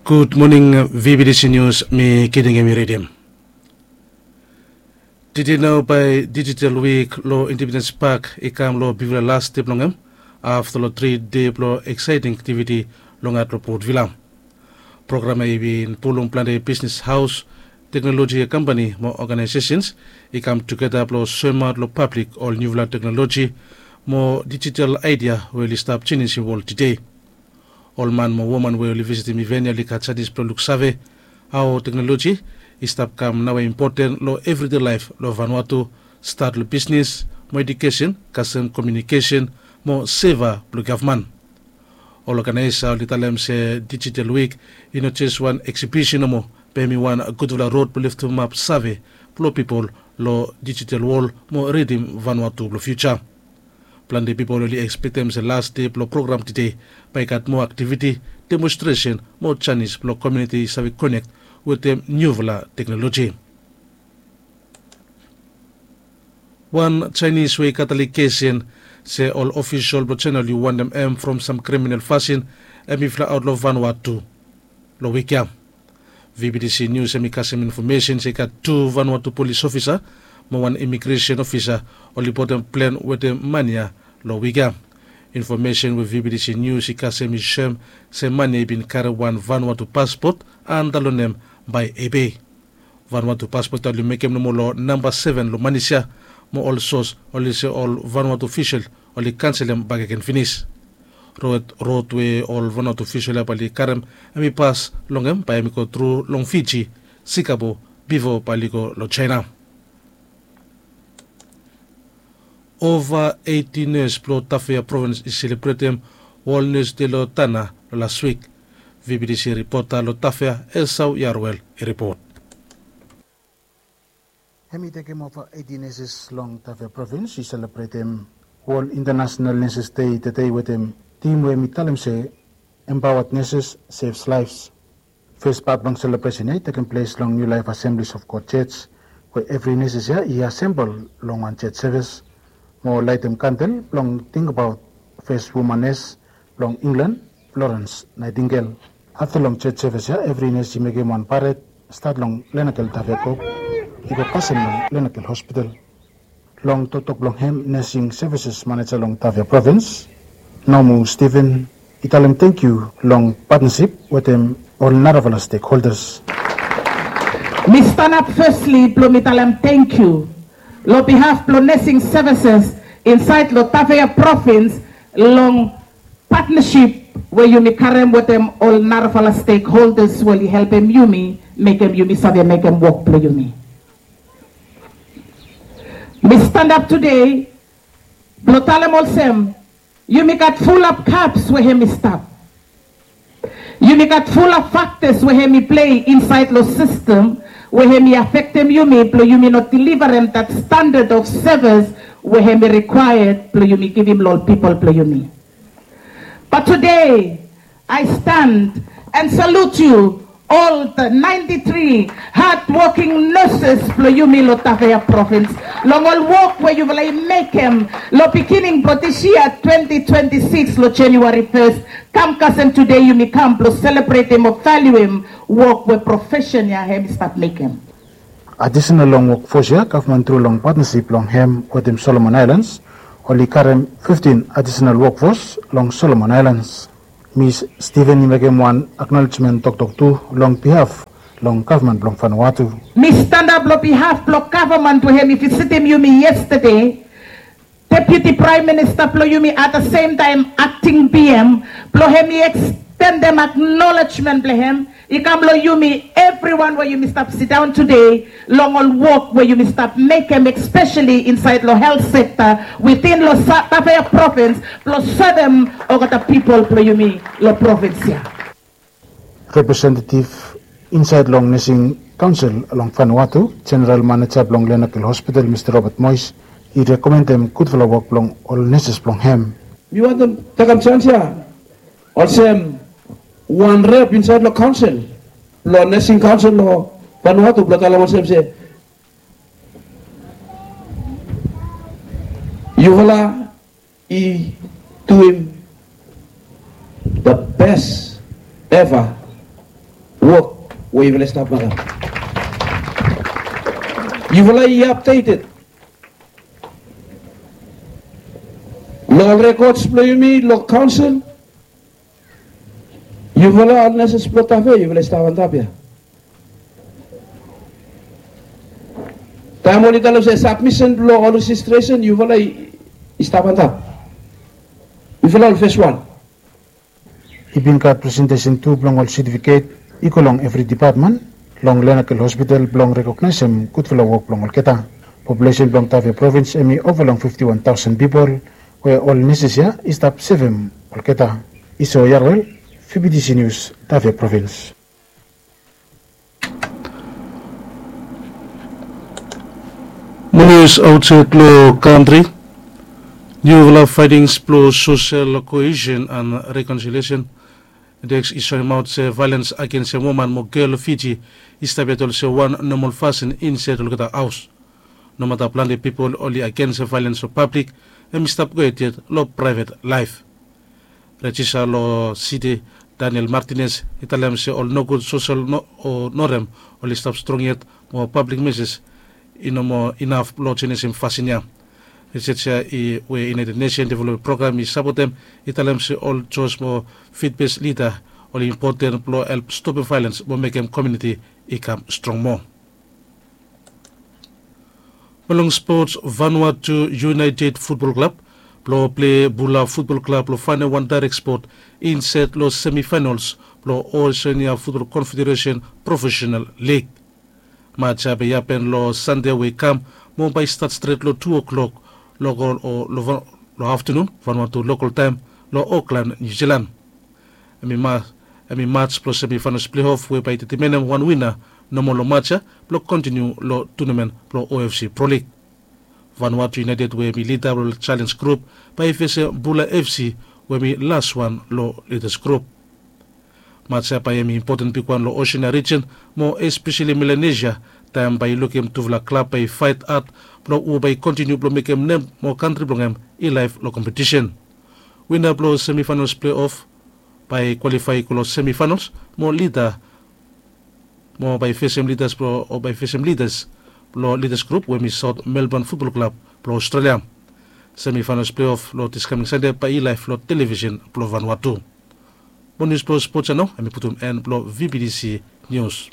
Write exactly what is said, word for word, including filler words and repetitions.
Gud moning. Vbtc Nius mi kiting em i ridim. Tide nao bae dijital wik long Independens Pak i kam long bigfala las de blong hem afta long tri de blong eksaeting aktiviti long at long Port Vila. Program ya i bin pulum plante bisnes haos, teknoloji kampani mo oganaesesens i kam tugeta blong soemaot long pablik ol niufala teknoloji mo dijital aedia we oli stap jenisim wol tede. Ol man mo woman we oli visitim iven ya oli gat janis blong luksave hao teknoloji i stap kam naoia impoten long evride laef long Vanuatu, stat long bisnes mo edukesen, kasem komiunikesen mo seva blong gavman. Ol oganaesa oli talem se dijital wik i no jes wan eksibisen nomo, be hem i wan gudfala rod blong leftemap save blong pipol long dijital wol mo ridim Vanuatu blong fiuja. Plante pipol oli ekspektem se las de blong program tede bae i gat moa aktiviti, demonstresen mo janis blong komiuniti i save konek wetem niufala teknoloji. Wan Jaenis we i gat alegesen se ol ofisol blong Jaena oli wantem hem from sam kriminal fasin hem i flaeaot long Vanuatu long wik ya. Vbtc Nius hem i kasem infomesen se i gat tu Vanuatu polis ofisa mo wan imigresen ofisa oli botem plen wetem man ya long wik ya. Infomesen we Vbtc Nius i kasem i soem se man ya i bin karem wan Vanuatu paspot anda long nem bae Ebei. Vanuatu paspot ya oli mekem nomo long namba seven long manis ya, mo ol sos oli se ol Vanuatu ofisol oli kanselem bakegen finis. Rod we ol Vanuatu ofisol ya bae oli karem hem i pas long hem bae hem i go tru long Fiji, Singapore, bifo bae oli go long Jaena. Ova eiti nes blong Tafea provins i selebretem Wol Nes De long Tana long las wik. Vbtc ripota long Tafea, Esau Yarwel, i ripot. Hem i tekem ova eiti neses long Tafea provins i selebretem Wol Intanasenal Neses Dei tede wetem tim we hem i talem se Empowered Nurses Saves Lives. Fes pat blong selebresen ya i tekem ples long Niu Laef Asemblis of God Jos, we evri neses ya i asembol long wan jos sevis mo laetem kandel blong tingbaot fes woman nes blong Inglan, Florens Naetingel. Afta long jos sevis ya evri nes i mekem wan paret, stat long Lenakel Tafea Kop i go kasem long Lenakel Hospital. Long toktok blong hem, Nesing Sevises Maneja long Tafea Provins, Nomu Steven, i talem tangkiu long patnasip wetem ol narafala stekholdas. Mi stanap fesli blong mi talem tangkiu long bihaf blong Nesing Sevises insaed long Tafea Provins long patnasip we yumi karem wetem ol narafala stekholdas we oli helpem yumi mekem yumi save mekem wok blong yumi. Mi stanap tude blong talem olsem, yumi gat fulap kaps we hem i stap. Yumi gat fulap faktas we hem i plei insaed long sistem we hem i afektem yumi blong yumi no delivarem dat standad of sevis we hem i rikwaea blong yumi givim long ol pipol blong yumi. But today, I stand and salute you, all the ninety-three hardworking nurses blong yumi long Tafea Provins, long ol wok we yufala i mekem long beginning blong this year, twenty twenty-six, long January first, kam kasem tude yumi kam blong selebretem o valuem wok we profesen ya hem i stap mekem. Adisenal long wokfos ya, gavman tru long patnasip blong hem wetem Solomon Aelans, oli karem fiftin adisenal wokfos long Solomon Aelans. Mis Steven i mekem wan aknolejmen toktok tu long bihaf long gavman blong Vanuatu. Mi stanap long bihaf blong gavman we hem i visitim yumi yestade, Deputi Praem Minista blong yumi, at the same time akting B M, blong hem i ekstendem aknolejmen blong hem i kam long yumi evriwan we yumi stap sidaon tude long ol wok we yumi stap mekem, espeseli insaed long helt sekta witin long Tafea Provins blong sevem olgeta pipol blong yumi long provins ya. Representetiv insaed long Nesing Kaonsel long Vanuatu, Jeneral Maneja blong Lenakel Hospital, Mista Robert Mois, i rekomendem gudfala wok blong ol neses blong hem. Mi wantem tekem janis ya olsem wan rep insaed long kaonsel blong Nesing Kaonsel long Vanuatu blong talem olsem se yufala i duim the best ever wok we yufala i stap mekem. Yufala i apdeted long ol rekods blong yumi long kaonsel. Yufala ol neses blong tafe yufala i stap antap ya. Taem oli talem se sabmisen blong ol rejistresen yufala i stap antap. Yufala ol fes wan. I bin gat presentesen tu blong ol setifiket i go long evri depatmen long lenakel hospital blong rekognaesem gudfala wok blong olgeta. Populesen blong tafe provins em i ova long fifti wan taosen pipol, we ol neses ya i stap sevem olgeta. I so yarwel, vbtc nius, tafe provins. Monius aotsaed long kantri. Niufala faetings blong sosel koesen an rekonsiliesen deks i soemaot se vaelens agensem woman mo gel long fiji i stap yet olsem wan nomol fasin insaed olgeta haos. Nomata plante pipol oli agensem vaelens long pablik, hem i stap go yet yet long praevet laef. Rejista long siti, Daniel Martinez, i talem se ol nogud sosel o norem oli stap strong yet, mo pablik meses i no moa inaf blong jenesim fasin ya. Risej ya we iunaeted nesen developmen program i sapotem i talem se ol jos mo fitbes lida oli impoten blong help stopem vaelens mo mekem komiuniti i kam strong moa. Mo long spots, Vanuatu Iunaeted Futbol Klab blong plee Bula Futbol Klab long faenem wan daerek spot insaed long semifaenols blong Osenia Futbol Konfederesen Profesenal Lig. Maj ya bae i hapen long Sande we i kam, mo bae i stat stret long tu o'klok long aftenun Vanuatu lokol taem long Oklan, Niu Jilan. Hem i maj blong semifaenos pleof we bae i detemenem wan wina nomo long maj ya blong kontiniu long tunamen blong OFC Pro Lig. Vanuatu Iunaeted we hem i lida blong jaelens grup bae i fesem Bula FC we hem i laswan long lidas grup. Maj ya bae hem i impoten bigwan long Osenia rijen, mo espeseli Melanesia, taem bae i lukim tufala klab bae i faet had blong hu bae i kontiniu blong mekem nem mo kantri blong hem i laef long kompetisen. Wina blong semifaenos pleof bae i kwalifae i go long semifaenos mo lida mo bae i fesem lidas blong o bae i fesem lidas blong lidas grup we hem i Saot Melbon Futbol Klab blong Ostrelia. Semifaenos pleof long diskaming Sande bae i laef long televisen blong Vanuatu. Mo nius blong spots ya nao hem i putum en blong VBTC Nius.